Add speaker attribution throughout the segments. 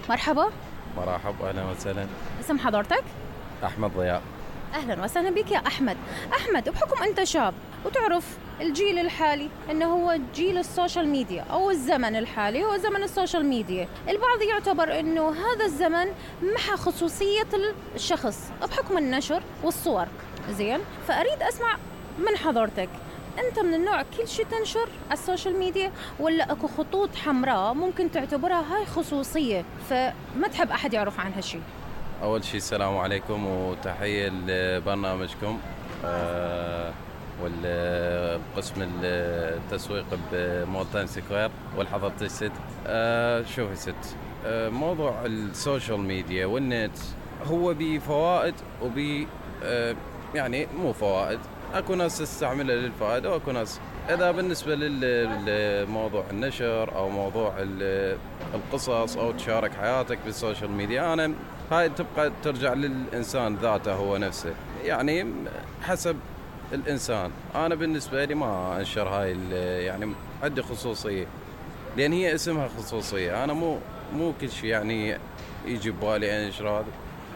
Speaker 1: مرحبا.
Speaker 2: مرحب، أهلا وسهلا.
Speaker 1: اسم حضرتك؟
Speaker 2: أحمد ضياء.
Speaker 1: أهلا وسهلا بك يا أحمد. أحمد، بحكم أنت شاب وتعرف الجيل الحالي أنه هو جيل السوشيال ميديا أو الزمن الحالي هو زمن السوشيال ميديا، البعض يعتبر أنه هذا الزمن محى خصوصية الشخص بحكم النشر والصور. زين، فأريد أسمع من حضرتك، أنت من النوع كل شيء تنشر على السوشيال ميديا ولا أكو خطوط حمراء ممكن تعتبرها هاي خصوصية فما تحب أحد يعرف عن هالشيء؟
Speaker 2: أول شيء السلام عليكم وتحية لبرنامجكم والقسم التسويق بمولتاين سكوير والحضر تجسد. شوفي ست، موضوع السوشيال ميديا والنت هو بفوائد وبي يعني مو فوائد، اكو ناس تستعملها للفائده واكو ناس. اذا بالنسبه للموضوع النشر او موضوع القصص او تشارك حياتك بالسوشيال ميديا، انا هاي تبقى ترجع للانسان ذاته هو نفسه، يعني حسب الانسان. انا بالنسبه لي ما انشر هاي يعني عندي خصوصيه لان هي اسمها خصوصيه. انا مو كل شيء يعني يجي ببالي انشر هذا،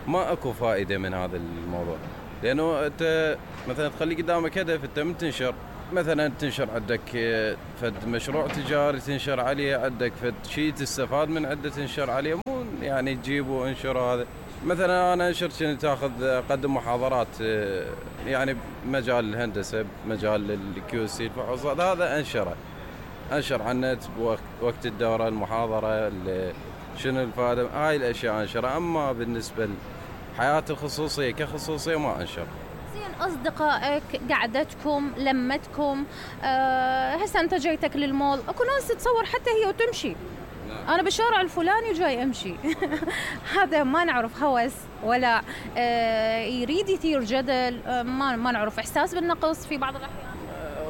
Speaker 2: ما اكو فائده من هذا الموضوع. لانه انت مثلا تخلي قدامك هدف، انت من تنشر مثلا تنشر عندك فد مشروع تجاري تنشر عليه، عندك فد شيء تستفاد من عنده تنشر عليه، مو يعني تجيبه وانشر. هذا مثلا انا انشر كنت اخذ اقدم محاضرات يعني بمجال الهندسه، بمجال الكيو سي الفحوصات، هذا انشر على النت بوقت الدوره المحاضره شنو الفائده، هاي الاشياء انشرها. اما بالنسبه حياتي الخصوصية كخصوصية ما أنشر.
Speaker 1: زين، أصدقائك، قعدتكم، لمتكم، هسه أنت جايتك للمول، أكو ناس تتصور حتى هي وتمشي. نعم. أنا بالشارع الفلاني جاي أمشي. هذا ما نعرف هوس ولا يريد يثير جدل، ما نعرف إحساس بالنقص في بعض الأحيان.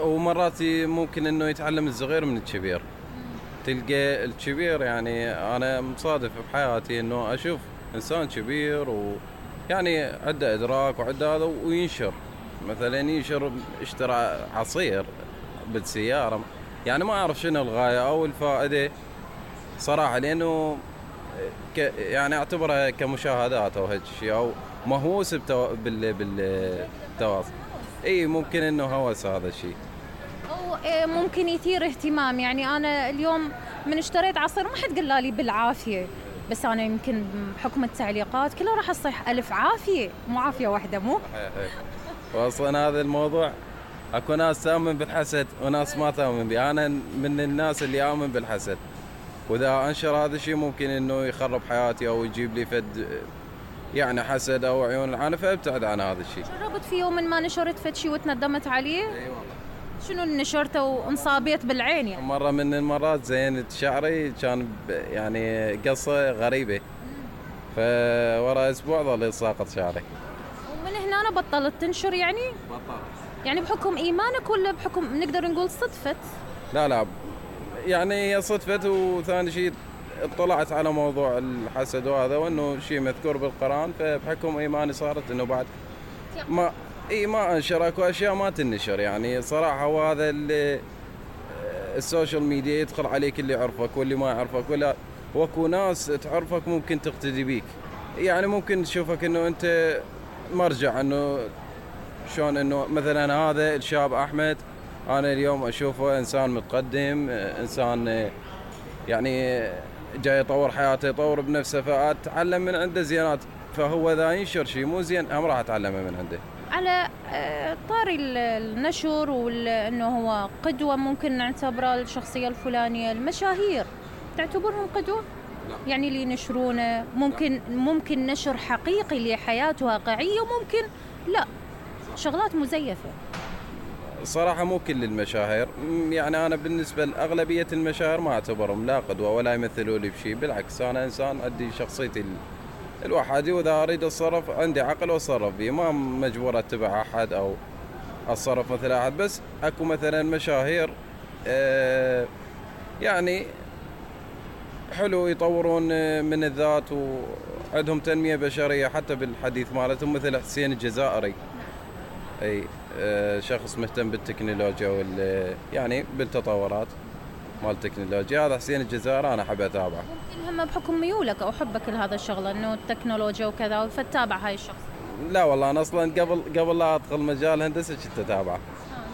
Speaker 2: ومرات ممكن إنه يتعلم الصغير من الكبير. تلقى الكبير، يعني أنا مصادف بحياتي إنه أشوف إنسان كبير ويعني عنده إدراك وعنده هذا وينشر، مثلا ينشر اشترى عصير بالسيارة، يعني ما أعرف شنو الغاية أو الفائدة صراحة، لأنه يعني أعتبرها كمشاهدات أو هيك شيء أو مهووس بالتواصل. إيه ممكن إنه هوس هذا الشيء،
Speaker 1: أو ممكن يثير اهتمام. يعني أنا اليوم من اشتريت عصير ما حد قال لي بالعافية، بس أنا يمكن بحكم التعليقات كلها راح أصيح ألف عافية، مو عافية واحدة مو.
Speaker 2: وأصلا هذا الموضوع أكو ناس تؤمن بالحسد وناس ما تؤمن به. أنا من الناس اللي آمن بالحسد، وإذا أنشر هذا الشيء ممكن إنه يخرب حياتي أو يجيب لي فد يعني حسد أو عيون العانة، فابتعد عن هذا الشيء.
Speaker 1: جربت في يوم ما نشرت فد شيء وتندمت عليه؟
Speaker 2: أي والله.
Speaker 1: شنو نشرته وانصابيت بالعين يعني؟
Speaker 2: مرة من المرات زينت شعري كان يعني قصة غريبة، فورا أسبوع ظل ساقط شعري.
Speaker 1: ومن هنا أنا بطلت تنشر يعني؟
Speaker 2: بطلت.
Speaker 1: يعني بحكم إيمانك ولا بحكم نقدر نقول صدفة؟
Speaker 2: لا يعني هي صدفة، وثاني شيء اطلعت على موضوع الحسد وهذا وانه شيء مذكور بالقرآن، فبحكم ايماني صارت انه بعد ما انشر. اكو اشياء ما تنشر يعني صراحة. وهذا اللي السوشيال ميديا يدخل عليك اللي يعرفك واللي ما يعرفك، ولا واكو ناس تعرفك ممكن تقتدي بيك، يعني ممكن تشوفك انه انت مرجع، انه شلون انه مثلا هذا الشاب احمد انا اليوم اشوفه انسان متقدم، انسان يعني جاي يطور حياته، يطور بنفسه، فاتعلم من عنده زينات. فهو اذا ينشر شيء مو زين هم راح اتعلمه من عنده.
Speaker 1: على طاري النشر وانه هو قدوة، ممكن نعتبره الشخصية الفلانية. المشاهير تعتبرهم قدوة؟ لا. يعني اللي ينشرونه ممكن نشر حقيقي لحياة واقعية وممكن لا، شغلات مزيفة.
Speaker 2: صراحة مو كل المشاهير، يعني أنا بالنسبة لأغلبية المشاهير ما أعتبرهم لا قدوة ولا يمثلوا لي بشيء. بالعكس أنا إنسان عندي شخصيتي الوحدي، وإذا أريد أتصرف عندي عقل وأتصرف فيه، ما مجبور أتبع أحد أو أتصرف مثل أحد. بس أكو مثلا مشاهير يعني حلو يطورون من الذات وعندهم تنمية بشرية حتى بالحديث مالتهم، مثل حسين الجزائري، أي شخص مهتم بالتكنولوجيا يعني بالتطورات. مال التكنولوجيا. هذا حسين الجزائري انا احب اتابعه.
Speaker 1: ممكن هم بحكم ميولك او حبك لهذا الشغله انه التكنولوجيا وكذا فتتابع هاي الشخص.
Speaker 2: لا والله انا اصلا قبل لا ادخل مجال الهندسه كنت اتابعه.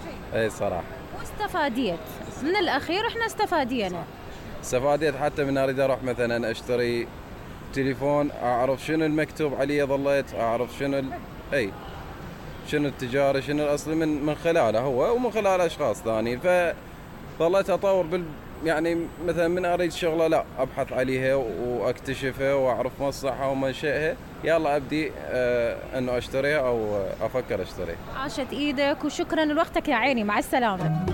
Speaker 1: جيد.
Speaker 2: اي صراحه.
Speaker 1: واستفاديت من الاخير، احنا استفادينا.
Speaker 2: استفاديت حتى من اريد اروح مثلا اشتري تليفون، اعرف شنو المكتوب عليه، ظليت اعرف شنو التجاري، شنو الاصلي من خلاله هو ومن خلال اشخاص ثانيين. فظليت اطور يعني مثلا من اريد شغله لا ابحث عليها واكتشفها واعرف مصلحها ومنشئها، يلا ابدي انه اشتريها او افكر اشتريها.
Speaker 1: عاشت ايدك وشكرا لوقتك يا عيني، مع السلامه.